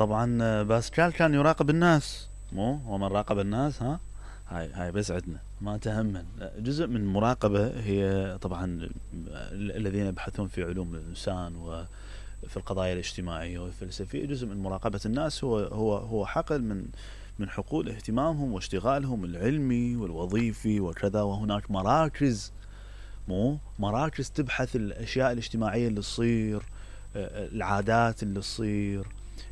طبعا باسكال كان يراقب الناس، مو ومن راقب الناس ها هاي بس عندنا ما تهمن. جزء من المراقبة هي طبعا الذين يبحثون في علوم الإنسان وفي القضايا الاجتماعية والفلسفية، جزء من مراقبة الناس هو حقل من حقول اهتمامهم واشتغالهم العلمي والوظيفي وكذا. وهناك مراكز تبحث الأشياء الاجتماعية اللي تصير، العادات اللي تصير.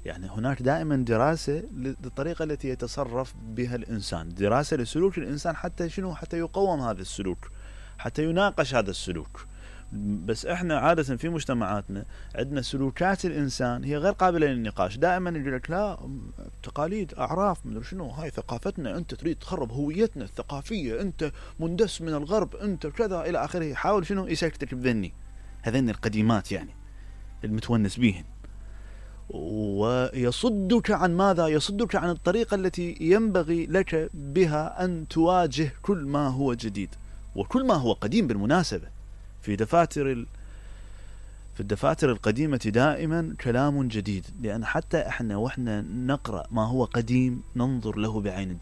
يعني هناك دائما دراسة للطريقة التي يتصرف بها الإنسان، دراسة لسلوك الإنسان، حتى شنو؟ حتى يقوم هذا السلوك، حتى يناقش هذا السلوك. بس احنا عادة في مجتمعاتنا عندنا سلوكات الإنسان هي غير قابلة للنقاش. دائما يقول لك لا، تقاليد، أعراف، مدري شنو، هاي ثقافتنا، أنت تريد تخرب هويتنا الثقافية، أنت مندس من الغرب، أنت كذا إلى آخره. يحاول شنو؟ يسكتك بذني هذين القديمات يعني المتونس بيهن، ويصدك عن ماذا؟ يصدك عن الطريقة التي ينبغي لك بها أن تواجه كل ما هو جديد وكل ما هو قديم. بالمناسبة في الدفاتر القديمة دائما كلام جديد، لأن حتى احنا واحنا نقرأ ما هو قديم ننظر له بعين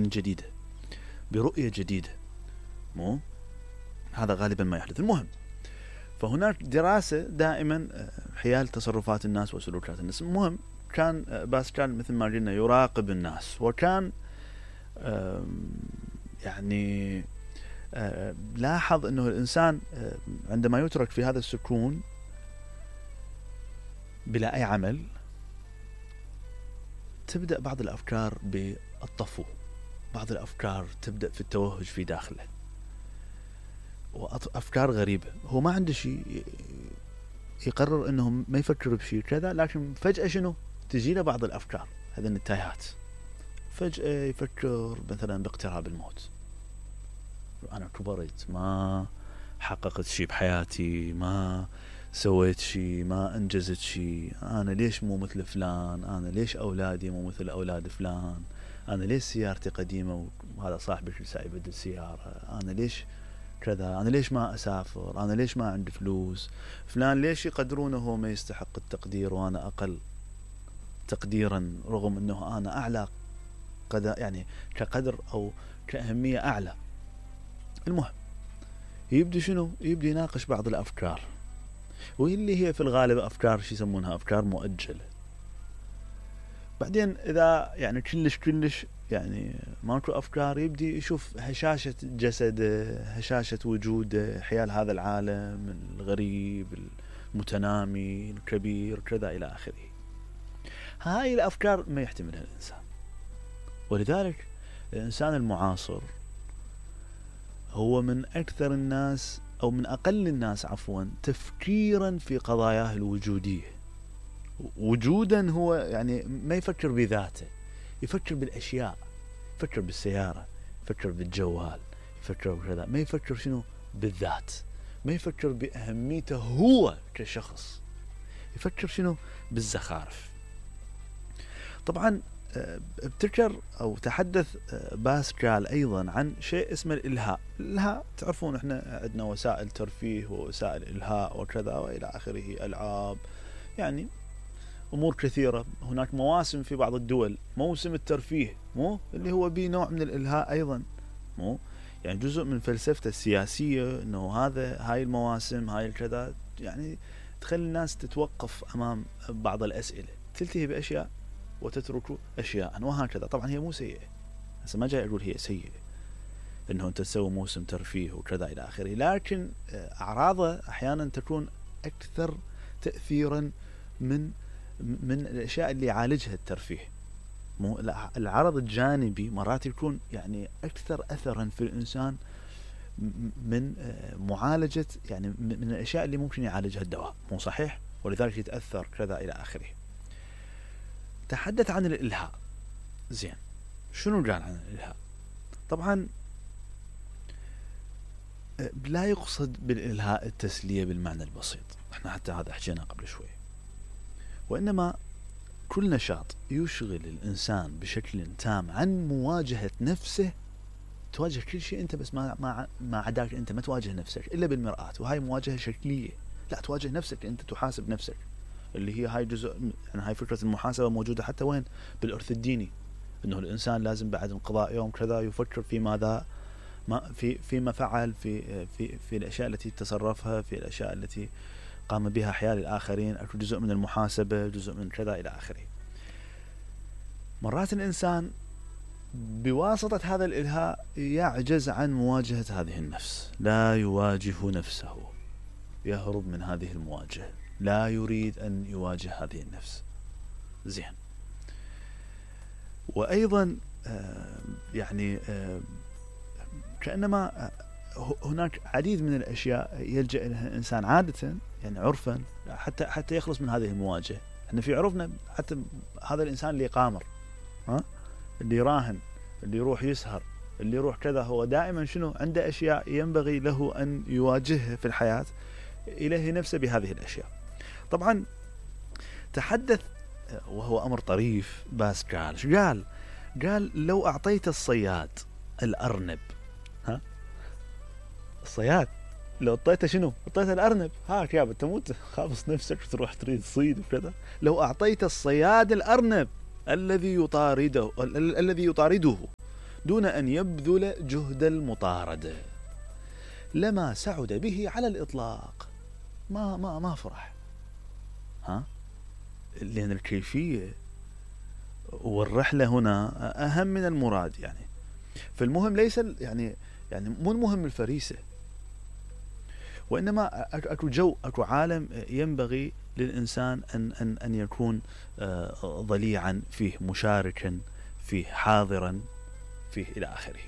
جديدة، برؤية جديدة. مو هذا غالبا ما يحدث. المهم، فهناك دراسة دائما حيال تصرفات الناس وسلوكات الناس. المهم كان باسكال مثل ما قلنا يراقب الناس، وكان يعني لاحظ أنه الإنسان عندما يترك في هذا السكون بلا أي عمل تبدأ بعض الأفكار بالطفو، بعض الأفكار تبدأ في التوهج في داخله، وأفكار غريبة. هو ما عنده شيء، يقرر أنه ما يفكر بشيء كذا، لكن فجأة شنو؟ تجيله بعض الأفكار هذين التايهات. فجأة يفكر مثلا باقتراب الموت، أنا كبرت، ما حققت شيء بحياتي، ما سويت شيء، ما أنجزت شيء، أنا ليش مو مثل فلان، أنا ليش أولادي مو مثل أولاد فلان، أنا ليش سيارتي قديمة وهذا صاحبي سايب السيارة، أنا ليش كذا، أنا ليش ما أسافر، أنا ليش ما عندي فلوس، فلان ليش يقدرونه هو ما يستحق التقدير وأنا أقل تقديرا، رغم أنه أنا أعلى يعني كقدر أو كأهمية أعلى. المهم يبدي شنو؟ يبدي يناقش بعض الأفكار، واللي هي في الغالب أفكار شو يسمونها، أفكار مؤجلة. بعدين إذا يعني كلش يعني ماكو أفكار، يبدي يشوف هشاشة جسده، هشاشة وجوده حيال هذا العالم الغريب المتنامي الكبير كذا إلى آخره. هاي الأفكار ما يحتملها الإنسان. ولذلك الإنسان المعاصر هو من أكثر الناس أو من أقل الناس عفوا تفكيرا في قضاياه الوجودية. وجودا هو يعني ما يفكر بذاته، يفكر بالأشياء، يفكر بالسيارة، يفكر بالجوال، يفكر بكذا، ما يفكر شنو؟ بالذات، ما يفكر بأهميته هو كشخص، يفكر شنو؟ بالزخارف. طبعا ابتكر أو تحدث باسكال أيضا عن شيء اسمه الإلهاء. الإلهاء تعرفون احنا عندنا وسائل ترفيه ووسائل إلهاء وكذا وإلى آخره، ألعاب، يعني أمور كثيرة. هناك مواسم في بعض الدول، موسم الترفيه مو اللي هو به نوع من الإلهاء أيضا، مو يعني جزء من فلسفته السياسية أنه هاي المواسم هاي الكذا يعني تخلي الناس تتوقف أمام بعض الأسئلة، تلتهي بأشياء وتترك أشياء وهكذا. طبعا هي مو سيئة، هسه ما جاي أقول هي سيئة أنه أنت تسوي موسم ترفيه وكذا إلى آخره، لكن أعراضه أحيانا تكون أكثر تأثيرا من الأشياء اللي يعالجها الترفيه. العرض الجانبي مرات يكون يعني أكثر أثرا في الإنسان من معالجة يعني من الأشياء اللي ممكن يعالجها الدواء، مو صحيح؟ ولذلك يتأثر كذا إلى آخره. تحدث عن الإلهاء. زين، شنو قال عن الإلهاء؟ طبعا لا يقصد بالإلهاء التسلية بالمعنى البسيط، احنا حتى هذا حكينا قبل شوي، وإنما كل نشاط يشغل الإنسان بشكل تام عن مواجهة نفسه. تواجه كل شيء أنت، بس ما عداك أنت ما تواجه نفسك إلا بالمرآة، وهاي مواجهة شكلية. لا، تواجه نفسك أنت، تحاسب نفسك اللي هي هاي جزء، يعني هاي فكرة المحاسبة موجودة حتى وين؟ بالإرث الديني، انه الانسان لازم بعد انقضاء يوم كذا يفكر في ماذا فيما فعل في الاشياء التي تصرفها، في الاشياء التي قام بها حيال الآخرين. أكو جزء من المحاسبة، جزء من كذا إلى آخره. مرات الإنسان بواسطة هذا الإلهاء يعجز عن مواجهة هذه النفس، لا يواجه نفسه، يهرب من هذه المواجهة، لا يريد أن يواجه هذه النفس. زين. وأيضا يعني كأنما هناك عديد من الأشياء يلجأ إليها الإنسان عادة، يعني عرفا، حتى يخلص من هذه المواجهة. احنا في عرفنا حتى هذا الإنسان اللي قامر، اللي راهن، اللي يروح يسهر، اللي يروح كذا، هو دائما شنو عنده أشياء ينبغي له أن يواجهها في الحياة، إليه نفسه بهذه الأشياء. طبعا تحدث وهو أمر طريف، بس قال لو أعطيت الصياد الأرنب، الصياد لو اعطيته شنو؟ اعطيته الأرنب، هاك يابا تموت خابص نفسك تروح تريد تصيد وكذا. لو أعطيت الصياد الأرنب الذي يطارده دون أن يبذل جهد المطاردة لما سعد به على الإطلاق. ما فرح، لأن الكيفية والرحلة هنا أهم من المراد. يعني فالمهم ليس يعني مو المهم الفريسة، وإنما أكو عالم ينبغي للإنسان أن يكون ضليعا فيه، مشاركا فيه، حاضرا فيه إلى آخره.